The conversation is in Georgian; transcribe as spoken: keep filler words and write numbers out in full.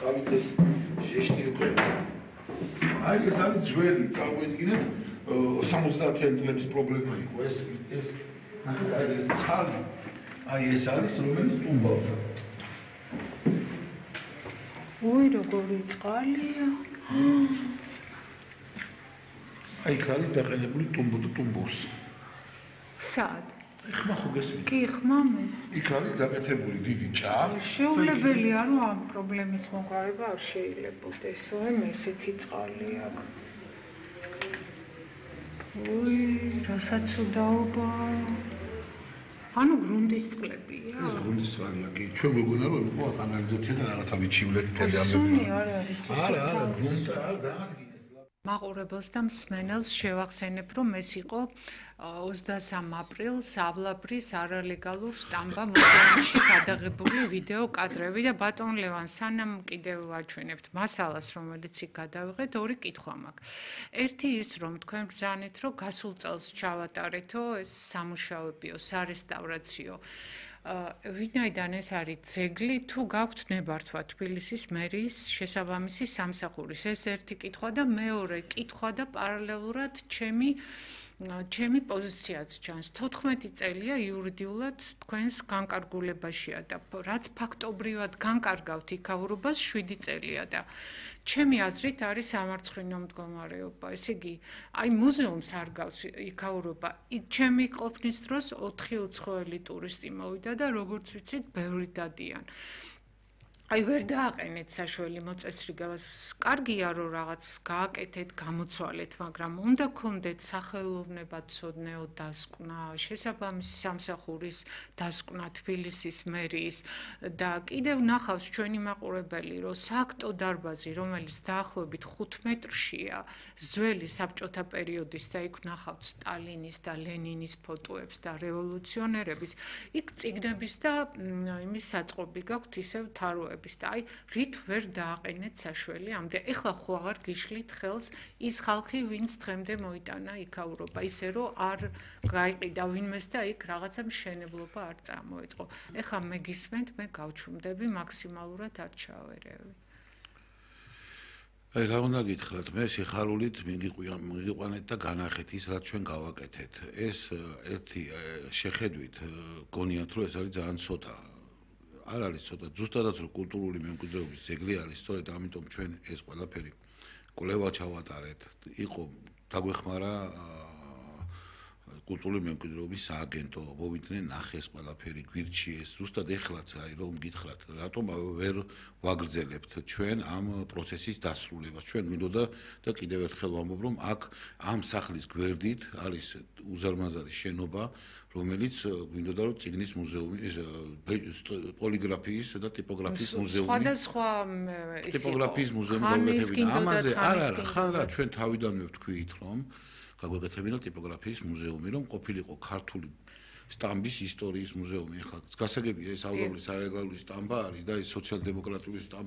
ხავით ეს ჟეშტი უკვე. აი ეს არის ძველი, წარმოიდგინეთ სამოცდაათიანი წლების პრობლემა იყო ეს ეს ნახეთ აი ეს წყალი. აი ეს არის რომელიც ტუმბავდა. ოი როგორი წყალია. აი იქ არის დაყენებული ტუმბო და ტუმბოს. სად? ხმა ხო გესმით? კი, ხმამეს. იქ არის გაკეთებული დიდი ჭა. შეუძლებელია რომ ამ პრობლემის მოგვარება არ შეიძლებოდეს. ой, ესეთი წყალი აქვს. ой, რასაც უდაობა. ანუ გრუნტის წყლებია. ეს გრუნტის წყალია, კი. ჩვენ მეგონა რომ იყო კანალიზაცია და რაღაცა ვიჩივლეთ თელი ამ. სუნი არ არის ეს. არა, არა, გრუნტი არ დაადგინეს. მაყურებელს და მსმენელს შევახსენებ, რომ ეს იყო ოცდასამ აპრილს ავლაბრის არალეგალურ სტამბა მუზეუმში გადაღებული ვიდეო კადრები და ბატონ ლევან, სანამ კიდევ ვაჩვენებთ მასალას, რომელიც იქ გადავიღეთ, ორი კითხვა მაქვს. ერთი ის, რომ თქვენ ბრძანეთ, რომ გასულ წელს ჩავატარეთო ეს სამუშაოებიო, სარესტავრაციო ვინაიდან ეს არის ძეგლი, თუ გაქვთ ნებართვა თბილისის მერიის შესაბამისი სამსახურის. ეს ერთი კითხვა და მეორე კითხვა და პარალელურად ჩემი ჩემი პოზიციაც ჩანს. თოთხმეტი წელია იურიდიულად თქვენს განკარგულებაშია და რაც ფაქტობრივად განკარგავთ იქაურობას შვიდი წელია და ჩემი აზრით არის სამარცხვინო მდგომარეობა. ესე იგი, აი მუზეუმს არ გავს იქაურობა. ჩემი ყოფნის დროს ოთხი უცხოელი ტურისტი მოვიდა და როგორც ვიცით, ბევრი დადიან. აი ვერ დააყენეთ საშველი მოწესრიგებას. კარგია რომ რაღაც გააკეთეთ, გამოცვალეთ, მაგრამ უნდა გქონდეთ სახელოვნებაცოდნეო დასკვნა, შესაბამისი სამსახურის დასკვნა თბილისის მერიის და კიდევ ნახავს ჩვენი მაყურებელი, რომ სააქტო დარბაზი, რომელიც დაახლოებით ხუთ მეტრშია, ძველი საბჭოთა პერიოდის და იქ ნახავთ სტალინის და ლენინის ფოტოებს და რევოლუციონერების, იქ წიგნების და იმის საწყობი გაქვთ ისევ თაროები. და აი რით ვერ დააყენეთ საშველი ამდე ეხლა ხო აღარ გიშლით ხელს ის ხალხი ვინც დღემდე მოიტანა იქაურობა ისე რომ არ გაიყიდა ვინმეს და იქ რაღაცა მშენებლობა არ წამოეწყო ეხლა მე გისმენთ მე გავჩუმდები მაქსიმალურად არ ჩავერევი აი რა უნდა გითხრათ მე სიხარულით მიგიყვანეთ და განახეთ ის რაც ჩვენ გავაკეთეთ ეს ერთი შეხედვით გონიათ რომ ეს არის ძალიან ცოტა არ არის ცოტა ზუსტადაც რომ კულტურული მემკვიდრეობის ძეგლი არის სწორედ ამიტომ ჩვენ ეს ყველაფერი კვლევა ჩავატარეთ იყო დაგვეხმარა კულტურული მემკვიდრეობის სააგენტო მოვიდნენ ნახეს ყველაფერი გვირჩიეს ზუსტად ეხლაც აი რომ გითხრათ რატომ ვერ ვაგრძელებთ ჩვენ ამ პროცესის დასრულებას ჩვენ გვინდოდა და კიდევ ერთხელ ვამბობ რომ აქ ამ სახლის გვერდით არის უზარმაზარი შენობა რომელიც გვინდოდა რომ წიგნის მუზეუმი პოლიგრაფიის და ტიპოგრაფიის მუზეუმი სხვადასხვა ტიპოგრაფიის მუზეუმი გავაკეთებინა ამაზე არ არა ხან რა ჩვენ თავიდანვე ვთქვით რომ გაგვეკეთებინა ტიპოგრაფიის მუზეუმი რომ ყოფილიყო ქართული სტამბის ისტორიის მუზეუმი ახლა გასაგებია ეს აუდობლის არალეგალური სტამბა არის და ეს სოციალ-დემოკრატიული სტამბა